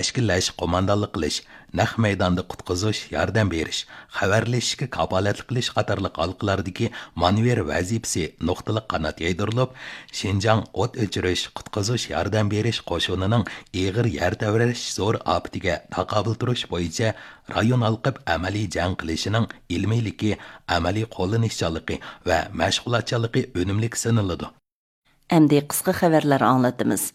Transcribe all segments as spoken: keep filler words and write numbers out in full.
ئىچكىلەش، قوماندانلىق قىلىش، نەق مەيداندا قۇتقۇزۇش، ياردەم بېرىش، خەۋەرلىشىشكە كاپالەتلىك قىلىش قاتارلىق ھالقىلەردىكى مانېۋىر ۋەزىپىسى نۇقتىلىق قانات يايدۇرۇلۇپ، شىنجاڭ ئوت ئۆچۈرۈش، قۇتقۇزۇش، ياردەم بېرىش قوشۇنىنىڭ ئېغىر يەر تەۋرەش زور ئاپىتىگە تاقابىل تۇرۇش بويىچە رايون ھالقىپ ئەمەلىي جەڭ قىلىشىنىڭ ئىلمىيلىكى، ئەمەلىي قوللىنىشچانلىقى ۋە مەشغۇلاتچانلىقى ئۈنۈملۈك سىنىلىدۇ. ئەمدى قىسقا خەۋەرلەر ئاڭلىتىمىز.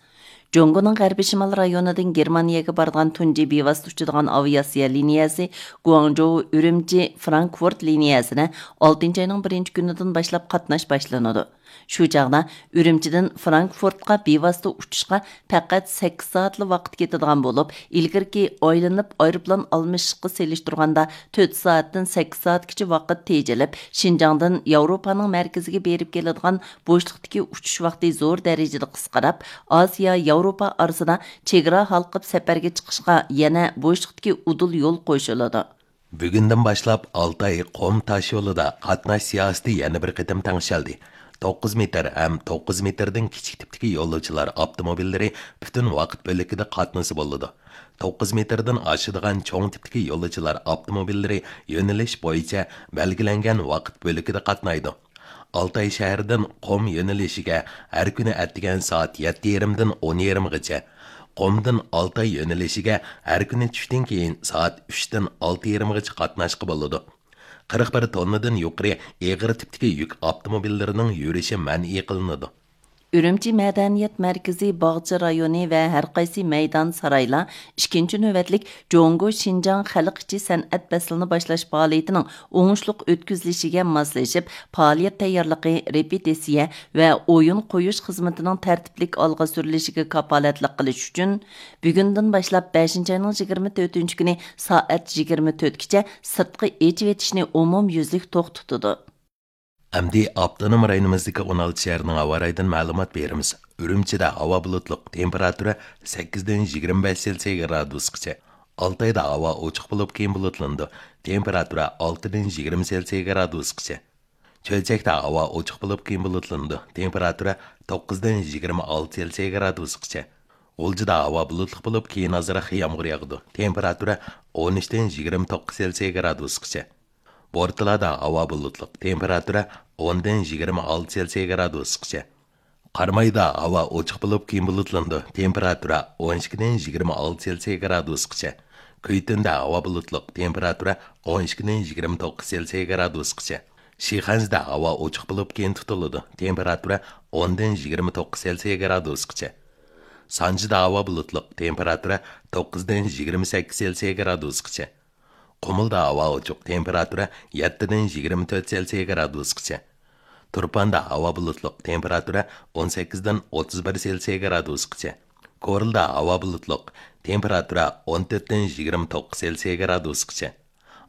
جۇڭگونىڭ غەربىي شىمال رايونىدىن گېرمانىيەگە بارىدىغان تۇنجى بىۋاسىتە ئۇچىدىغان ئاۋىئاتسىيە لىنىيەسى گۇاڭجوۋ ئۈرۈمچى فرانكفورت لىنىيەسىنە ئالتىنچى ئاينىڭ بىرىنچى كۈنىدىن باشلاپ قاتناش باشلىنىدۇ. شۇ چاغدا ئۈرۈمچىدىن فرانكفورتقا بىۋاسىتە ئۇچۇشقا پەقەت سەككىز سائەتلا ۋاقىت كېتىدىغان بولۇپ، ئىلگىرىكى ئايلىنىپ ئايروپىلان ئالمىشىشقا سېلىشتۇرغاندا تۆت سائەتتىن سەككىز سائەتكىچە ۋاقىت تېجىلىپ، شىنجاڭدىن ياۋروپانىڭ مەركىزىگە بېرىپ كېلىدىغان بوشلۇقتىكى ئۇچۇش ۋاقتى زور دەرىجىدە قىسقىراپ، ئاسىيا، ياۋروپا ئارىسىدا چېگرا ھالقىپ سەپەرگە چىقىشقا يەنە بوشلۇقتىكى ئۇدۇل يول قوشۇلىدۇ. بۈگۈندىن باشلاپ ئالتاي قۇم تاش يولىدا قاتناش سىياسىتى يەنە بىر قېتىم تەڭشەلدى. توققۇز مېتىر ھەم توققۇز مېتىردىن كىچىك تىپتىكى يولۇچىلار ئاپتوموبىللىرى پۈتۈن ۋاقىت بۆلىكىدە قاتنىسا بولىدۇ. توققۇز مېتىردىن ئاشىدىغان چوڭ تىپتىكى يولۇچىلار ئاپتوموبىللىرى يۆنىلىش بويىچە بەلگىلەنگەن ۋاقىت بۆلىكىدە قاتنايدۇ. ئالتاي شەھىرىدىن قۇم يۆنىلىشىگە ھەر كۈنى ئەتىگەن سائەت يەتتە يېرىمدىن ئون يېرىمغىچە، قۇمدىن ئالتاي يۆنىلىشىگە ھەر كۈنى چۈشتىن كېيىن سائەت ئۈچتىن ئالتە يېرىمغىچە قاتناشقا بولىدۇ. قىرىق بىر توننىدىن يۇقىرى ئېغىر تىپتىكى يۈك ئاپتوموبىللىرىنىڭ يۈرۈشى مەنئى قىلىنىدۇ. ئۈرۈمچى مەدەنىيەت مەركىزى، باغچە رايونى ۋە ھەر قايسى مەيدان، سارايلار ئىككىنچى نۆۋەتلىك جۇڭگو شىنجاڭ خەلق ئىچى سەنئەت پەسلىنى باشلاش پائالىيىتىنىڭ ئوڭۇشلۇق ئۆتكۈزۈلۈشىگە ماسلىشىپ، پائالىيەت تەييارلىقى، رېپېتىتسىيە ۋە ئويۇن قويۇش خىزمىتىنىڭ تەرتىپلىك ئالغا سۈرۈلۈشىگە كاپالەتلىك قىلىش ئۈچۈن، بۈگۈندىن باشلاپ بەشىنچى ئاينىڭ يىگىرمە تۆتىنچى كۈنى سائەت يىگىرمە تۆتكىچە سىرتقا ئېچىۋېتىشنى ئومۇميۈزلۈك توختىتىدۇ. ئەمدى ئاپتونوم رايونىمىزدىكى ئون ئالتە شەھەرنىڭ ھاۋا رايىدىن مەلۇمات بېرىمىز. ئۈرۈمچىدە ھاۋا بۇلۇتلۇق، تېمپېراتۇرا سەككىزدىن يىگىرمە بەش سېلسىيە گرادۇسقىچە. ئالتايدا ھاۋا ئوچۇق بولۇپ، كېيىن بۇلۇتلىنىدۇ. تېمپېراتۇرا ئالتىدىن يىگىرمە سېلسىيە گرادۇسقىچە. چۆچەكتە ھاۋا ئوچۇق بولۇپ، كېيىن بۇلۇتلىنىدۇ. تېمپېراتۇرا توققۇزدىن يىگىرمە ئالتە سېلسىيە گرادۇسقىچە. غۇلجىدا ھاۋا بۇلۇتلۇق بولۇپ، كېيىن ئازراق يامغۇر ياغىدۇ. تېمپېراتۇرا ئون ئۈچتىن يىگىرمە توققۇز سېلسىيە گرادۇسقىچە. بورتالادا ھاۋا بۇلۇتلۇق، تېمپېراتۇرا ئوندىن يىگىرمە ئالتە سېلسىيە گرادۇسقىچە. قارامايدا ھاۋا ئوچۇق بولۇپ، كېيىن بۇلۇتلىنىدۇ. تېمپېراتۇرا ئون ئىككىدىن يىگىرمە ئالتە سېلسىيە گرادۇسقىچە. كۈيتۈندە ھاۋا بۇلۇتلۇق، تېمپېراتۇرا ئون ئىككىدىن يىگىرمە توققۇز سېلسىيە گرادۇسقىچە. شىخەنزىدە ھاۋا ئوچۇق بولۇپ، كېيىن تۇتۇلىدۇ. تېمپېراتۇرا ئوندىن يىگىرمە توققۇز سېلسىيە گرادۇسقىچە. سانجىدا ھاۋا بۇلۇتلۇق، تېمپېراتۇرا توققۇزدىن يىگىرمە سەككىز سېلسىيە گرادۇسقىچە. قۇمۇلدا ھاۋا ئوچۇق، تېمپېراتۇرا يەتتىدىن يىگىرمە تۆت سېلسىيە گرادۇسقىچە. تۇرپاندا ھاۋا بۇلۇتلۇق، تېمپېراتۇرا ئون سەككىزدىن ئوتتۇز بىر سېلسىيە گرادۇسقىچە. كورلىدا ھاۋا بۇلۇتلۇق، تېمپېراتۇرا ئون تۆتتىن يىگىرمە توققۇز سېلسىيە گرادۇسقىچە.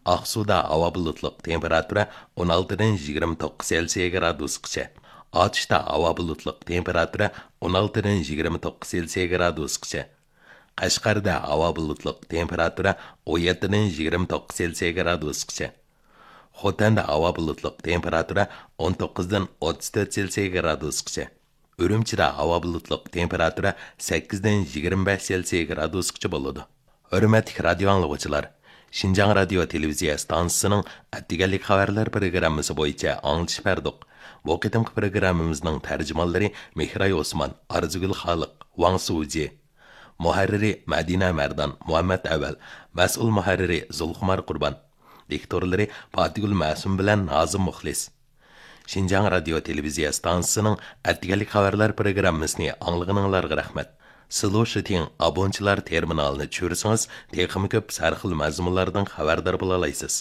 ئاقسۇدا ھاۋا بۇلۇتلۇق، تېمپېراتۇرا ئون ئالتىدىن يىگىرمە توققۇز سېلسىيە گرادۇسقىچە. ئاتۇشتا ھاۋا بۇلۇتلۇق، تېمپېراتۇرا ئون ئالتىدىن يىگىرمە توققۇز سېلسىيە گرادۇسقىچە. قەشقەردە ھاۋا بۇلۇتلۇق، تېمپېراتۇرا ئون يەتتىدىن يىگىرمە توققۇز سېلسىيە گرادۇسقىچە. خوتەندە ھاۋا بۇلۇتلۇق، تېمپېراتۇرا ئون توققۇزدىن ئوتتۇز تۆت سېلسىيە گرادۇسقىچە. ئۈرۈمچىدە ھاۋا بۇلۇتلۇق، تېمپېراتۇرا سەككىزدىن يىگىرمە بەش سېلسىيە گرادۇسقىچە بولىدۇ. ھۆرمەتلىك رادىيو ئاڭلىغۇچىلار، شىنجاڭ رادىيو تېلېۋىزىيە ئىستانسىسىنىڭ ئەتىگەنلىك خەۋەرلەر پروگراممىسى بويىچە ئاڭلىتىش بەردۇق. بۇ قېتىمقى پروگراممىمىزنىڭ تەرجىمانلىرى مېھراي ئوسمان، ئارزۇگۈل خالىق، ۋاڭ سۇجى. مۇھەررىرى مەدىنە مەردان، مۇھەممەت ئەۋەل. مەسئۇل مۇھەررىرى زۇلخۇمار قۇربان. دىكتورلىرى پاتىگۈل مەسۇم بىلەن نازىم مۇخلىس. شىنجاڭ رادىيو تېلېۋىزىيە ئىستانسىسىنىڭ ئەتىگەنلىك خەۋەرلەر پروگراممىسىنى ئاڭلىغىنىڭلارغا رەھمەت. سىلۇشىتىڭ ئابونچىلار تېرمىنالىنى چۈشۈرسىڭىز، تېخىمۇ كۆپ سەرخىل مەزمۇنلاردىن خەۋەردار بولالايسىز.